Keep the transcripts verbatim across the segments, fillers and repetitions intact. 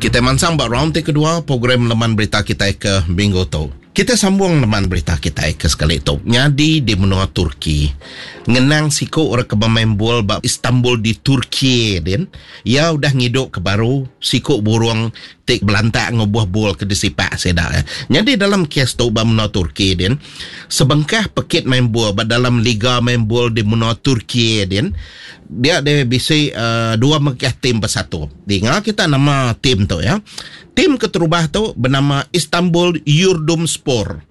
Kita mansang ba round ti kedua program Leman Berita kita ke minggu tu. Kita sambung leman berita kita ke sekali tu. Nyadi di menua Turki. Ngenang siku orang ke bermain bol ba Istanbul di Turki din. Ia udah ngiduk ke baru siku burung tik belantak ngubuh bol ke disipak seda. Jadi dalam kes tu ba menua Turki din, sebengkah pekit main bol ba dalam liga main bol di menua Turki din, dia ada bisi uh, dua mengkah tim bersatu. Dengar kita nama tim tu ya. Tim keterubah tu bernama Istanbul Yurdum Spor.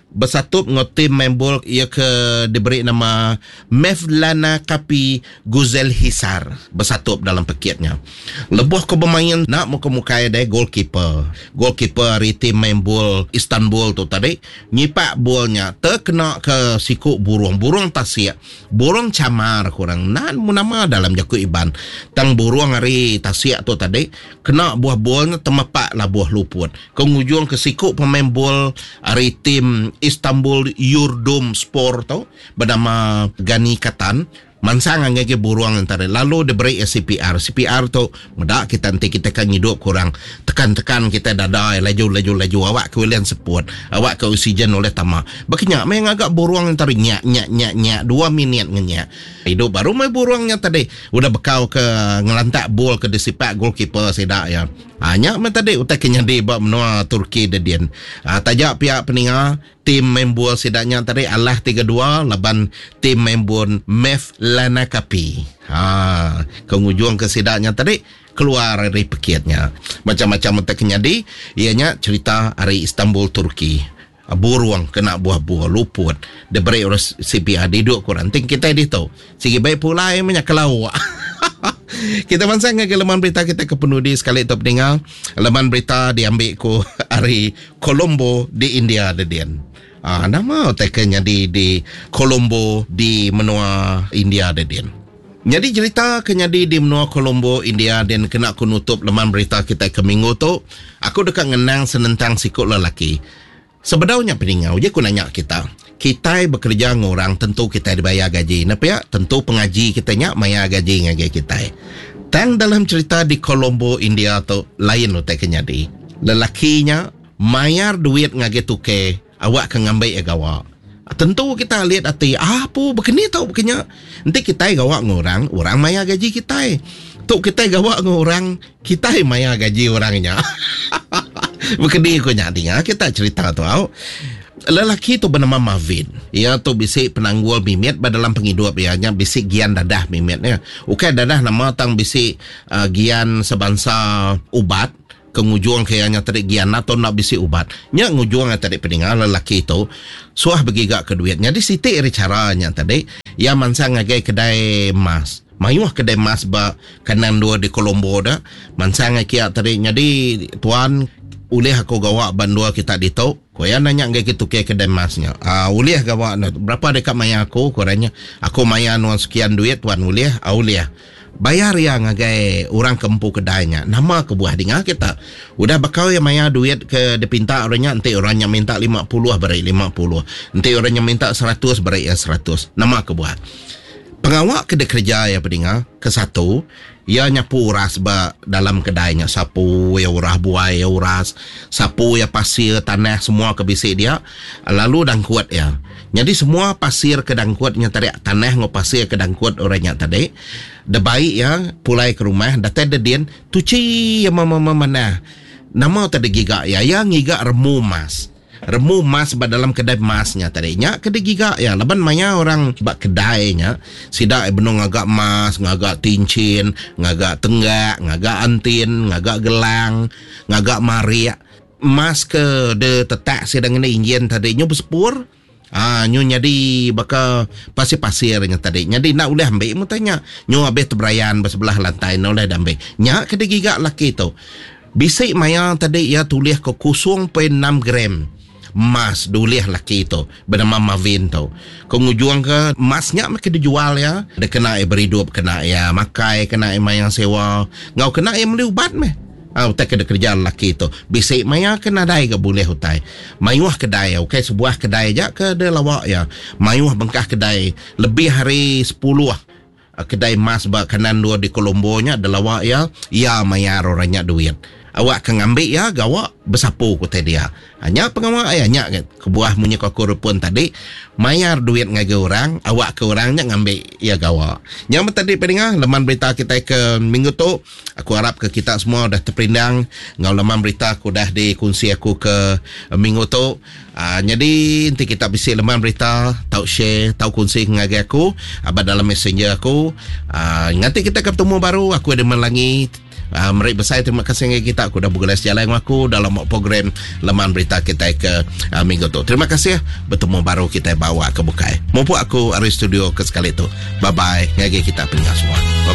Bersatu dengan tim main bol ia ke diberi nama Mevlana Kapi Guzel Hisar. Bersatu dalam pekitnya. Lebuh ke bermain nak muka-muka dia goalkeeper. Goalkeeper hari tim main bol Istanbul tu tadi nyipak bolnya terkena ke siku burung, burung tasik, burung camar kurang. Nan nama dalam jaku Iban. Tang burung hari tasik tu tadi kena buah bolnya temepak lah buah luput. Kengujung ke siku pemain bol hari tim Istanbul Yurdum Spor tu bernama Gani Katan mansang ngagi burung antara lalu diberi C P R. C P R tu medak kita nanti kita kan hidup kurang tekan-tekan kita dada laju laju laju awak ke ulian seput awak ke oksigen oleh tama berkenyak main agak burung antara nyak nyak nyak nyak dua minit ngenyak hidup baru mai burungnya tadi udah bekau ke ngelantak bol ke disipak goalkeeper sedak ya. Ha, nyak mai tadi utai kenyadi ba menua Turki dedian. Ha, tajak pihak peninga tim main bol sidaknya tadi alah tiga dua laban tim main bol Mevlana Kapi. Ha, kengujung ke sidaknya tadi keluar dari pekitnya. Macam-macam utai kenyadi ianya cerita hari Istanbul Turki. Burung kena buah-buah luput diberi orang C P R duduk kurang ting kita di tu. Sigi baik pulai banyak kelawak. Kita mansang ke leman berita kita ke penudi sekali tu peninggal. Leman berita diambil ku hari Colombo di India dedian. Ah, nama tekannya di di Colombo di menua India dedian. Jadi cerita kenyadi di menua Colombo India dan kena ku nutup leman berita kita ke minggu tu. Aku dekat ngenang senentang sikut lelaki. Sebenarnya peninggal je aku nanya kita. Kita bekerja dengan orang tentu kita dibayar gaji. Napa ya? Tentu pengaji kita nyak bayar gaji ngagai kita. Tang dalam cerita di Colombo India tu lain utai kenyadi. Lelakinya mayar duit ngagai tuke awak ke ngambil ya gawa. Tentu kita lihat hati, ah, apa begini tau begini. Nanti kita gawa dengan orang, orang mayar gaji kita. Tok kita gawa dengan orang, kita mayar gaji orangnya. Begini aku nyak dengar kita cerita tu au. Lelaki tu bernama Marvin. Ia tu bisik penanggul mimit dalam penghidup ia nya bisik gian dadah mimitnya. Okey dadah nama tang bisik uh, gian sebangsa ubat kengujung kayaknya tadi gian atau nak bisik ubat. Nya ngujung tadi pendengar lelaki tu suah bergigak ke duit. Jadi sitik ri caranya tadi ia mansang ngagai kedai emas. Mayuh kedai emas ba kanan dua di Colombo dah. Mansang ngagai tadi jadi tuan ulih aku gawak bandua kita ditu. Ko ya nanya ngai kitu ke kedai emasnya. Ah, ulih gawak na berapa dekat maya aku korangnya. Aku maya nuan sekian duit tuan ulih, ah, ulih. Bayar ya ngagai orang kempu kedainya. Nama kebuah dengar kita. Udah bakal ya maya duit ke dipinta orangnya, nanti orangnya minta lima puluh beri lima puluh. Nanti orangnya minta seratus beri ya seratus. Nama kebuah. Pengawak kedai kerja ya pendengar ke satu, ia nyapu uras ba dalam kedainya, sapu ya urah buai ya uras, sapu ya pasir tanah semua ke bisik dia, lalu dangkuat ya. Jadi semua pasir ke dangkuatnya tadi, tanah ngau pasir ke dangkuat orangnya tadi. De baik ya pulai ke rumah, datai dedin tuci ya mama mama mana. Nama tadi giga ya, ya ngiga remu mas. Remu mas ba dalam kedai masnya tadi. Nya kedai giga ya, laban maya orang ba kedainya sidak benung ngagak mas, ngagak tincin, ngagak tenggak, ngagak antin, ngagak gelang, ngagak mariak. Mas ke de tetak sidang ini injin tadi nyu bersepur. Ah, nyu nyadi baka pasir-pasirnya tadi. Nyadi nak boleh ambil mu tanya. Nyu habis terberayan bersebelah lantai nak boleh ambil. Nya kedai giga laki tu. Bisik maya tadi ia tulis ke kosong perpuluhan enam gram mas dulih laki tu bernama Marvin tu. Kengujung ke masnya makin dijual ya. Dia kena beridup, kena ya makai, kena maya sewa, ngau kena ya beli ubat meh. Ah, utai kena kerja laki tu. Bisik maya kena dai ke boleh utai. Mayuh kedai, okey sebuah kedai aja ke dia lawak ya. Mayuh bengkah kedai lebih hari sepuluh kedai mas ba kanan dua di Colombo nya ada lawak ya. Ya mayar orangnya duit. Awak ke ngambi ya gawa besapu ku dia. Hanya pengawa ya nya kebuah munyi aku repun tadi mayar duit ngagai orang awak ke orangnya ngambi ya gawa. Yang tadi pendengar leman berita kita ke minggu tu aku harap ke kita semua dah terperindang ngau leman berita aku dah dikongsi aku ke minggu tu. Uh, jadi nanti kita bisi leman berita tau share tau kongsi ngagai aku abad dalam messenger aku. Uh, nanti kita ketemu baru aku ada melangi. Uh, merik besar terima kasih dengan kita aku dah bergulai sejalan dengan aku dalam program leman berita kita ke uh, minggu tu. Terima kasih bertemu baru kita bawa ke bukai. Mumpuk aku ari studio ke sekali tu. Bye bye ngagai kita pendengar semua.